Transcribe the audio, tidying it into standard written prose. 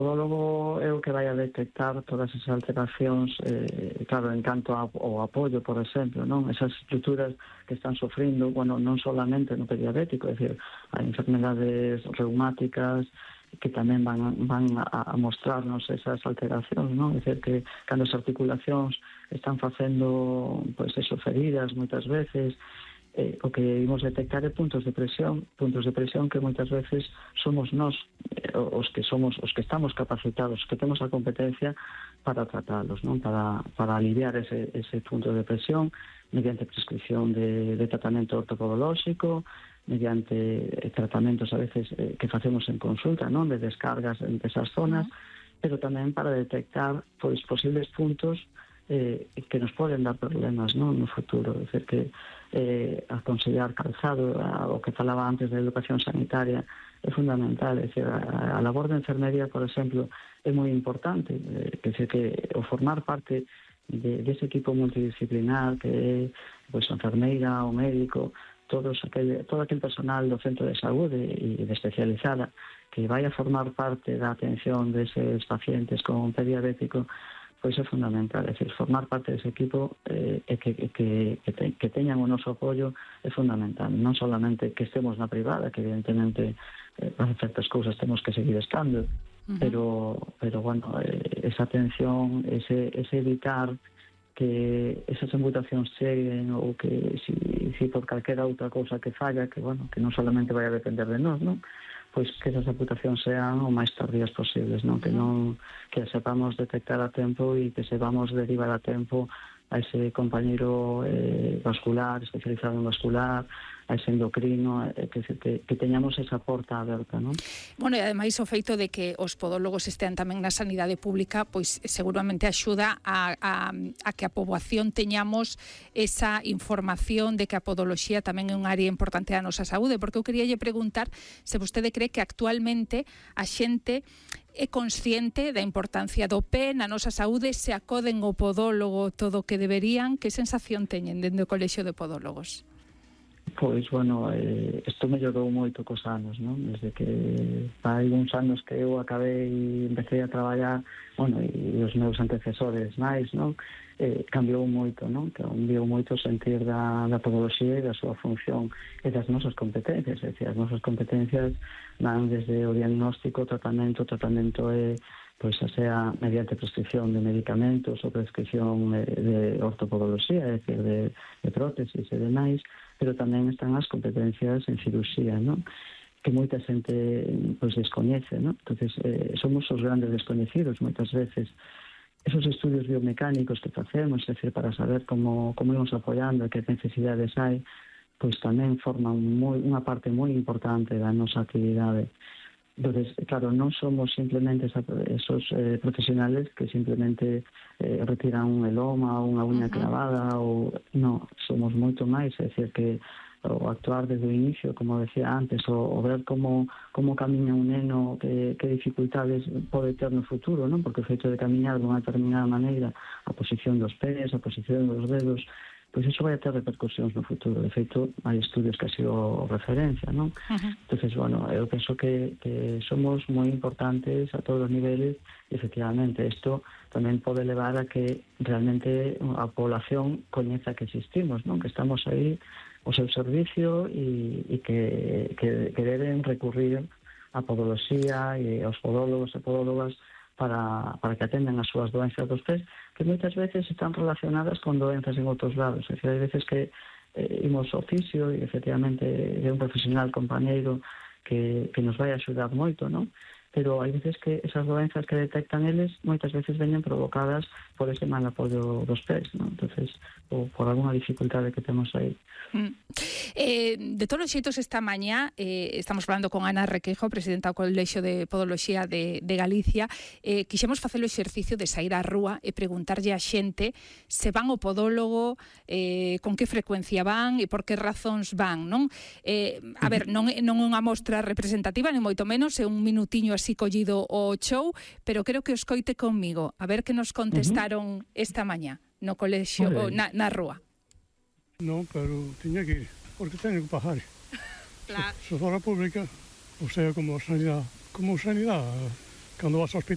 podólogo é o que vai a detectar todas esas alteracións, claro, en canto ao apoio, por exemplo, non? Esas estruturas que están sofrindo, bueno, non solamente no pé diabético, é dicir, hai enfermedades reumáticas que tamén van a mostrarnos esas alteracións, non? É dicir, que cando as articulacións están facendo, pois, eso, feridas moitas veces, o que imos detectar é puntos de presión que moitas veces somos nós os que estamos capacitados, que temos a competencia para tratalos, non? Para aliviar ese punto de presión mediante prescripción de tratamento ortopodolóxico, mediante tratamentos a veces que facemos en consulta, non? De descargas entre esas zonas, pero tamén para detectar pois posibles puntos que nos poden dar problemas, non? No futuro. É dicir, que aconsellar calzado, o que falaba antes da educación sanitaria, é fundamental. É dicir, a labor de enfermería, por exemplo, é moi importante. Que o formar parte dese equipo multidisciplinar que é pois, a enfermeira, o médico, todo aquel personal do centro de saúde e de especializada que vai a formar parte da atención deses pacientes con pé diabético, pois é fundamental. É dicir, formar parte dese equipo e que teñan o noso apoio é fundamental. Non solamente que estemos na privada, que evidentemente para certas cousas temos que seguir estando, pero bueno, esa atención, ese evitar que esas amputacións cheguen ou que si por calquera outra cousa que falla, que bueno, que non solamente vai a depender de nós, non? Pois que esas amputacións sean o máis tardías posibles, non? Que sepamos detectar a tempo e que sepamos derivar a tempo a ese compañeiro vascular, especializado en vascular, a ese endocrino, que teñamos esa porta aberta, non? Bueno, e ademais o feito de que os podólogos estean tamén na sanidade pública, pois seguramente axuda a que a poboación teñamos esa información de que a podoloxía tamén é un área importante da nosa saúde, porque eu queríalle preguntar se vostede cree que actualmente a xente é consciente da importancia do pé na nosa saúde, se acoden ao podólogo todo o que deberían. Que sensación teñen dentro do Colexio de Podólogos? Pois, bueno, isto mellorou moito cos anos, non? Desde que hai uns anos que eu acabei e empecé a traballar, bueno, e os meus antecesores máis, non? Cambiou moito, non? Cambiou moito o sentir da podoloxía e da súa función e das nosas competencias. É dicir, as nosas competencias van desde o diagnóstico, tratamento é pois sea mediante prescripción de medicamentos ou prescripción de ortopodoloxía, é dicir, de prótesis e demais, pero tamén están as competencias en cirurxía, non? Que moita xente pois descoñece, non? Entonces, somos os grandes descoñecidos moitas veces. Esos estudios biomecánicos que facemos, é dicir, para saber como ímos apoiando e que necesidades hai, pois tamén forman unha parte moi importante da nosa actividade. Entonces, claro, non somos simplemente esos profesionales que simplemente retiran un eloma ou unha uña clavada, ou non, somos moito máis, é dicir, que o actuar desde o inicio, como decía antes, o ver como camiña un neno, que dificultades pode ter no futuro, non? Porque o feito de camiñar de unha determinada maneira, a posición dos pés, a posición dos dedos, pois iso vai a ter repercusións no futuro. De feito, hai estudios que así o referencia, non? Entonces, bueno, eu penso que somos moi importantes a todos os niveles e, efectivamente, isto tamén pode levar a que realmente a población coñeza que existimos, non? Que estamos aí ao seu servicio e que deben recurrir a podoloxía e aos podólogos e podólogas para que atendan as súas doenzas dos pés, que moitas veces están relacionadas con doenzas en outros lados. É dicir, hai veces que imos ao fisio e, efectivamente, é un profesional compañeiro que nos vai axudar moito, non? Pero hai veces que esas doenzas que detectan eles moitas veces veñen provocadas por ese mal apoio dos pés, non? Entonces, ou por alguna dificultade que temos aí. De todos os xeitos, esta mañá estamos falando con Ana Requejo, presidenta do Colexio de Podoloxía de Galicia. Quixemos facer o exercicio de sair á rúa e preguntarlle a xente se van ao podólogo, con que frecuencia van e por que razóns van, non? A ver, non é unha mostra representativa, ni moito menos, é un minutiño así collido o show, pero creo que os coite conmigo, a ver que nos contestaron esta mañá no colexio, na rúa. Non, pero tiña que ir, porque teño que pagar. Claro. Se fora pública, o sea, como sanidade, cando vas ao hospital,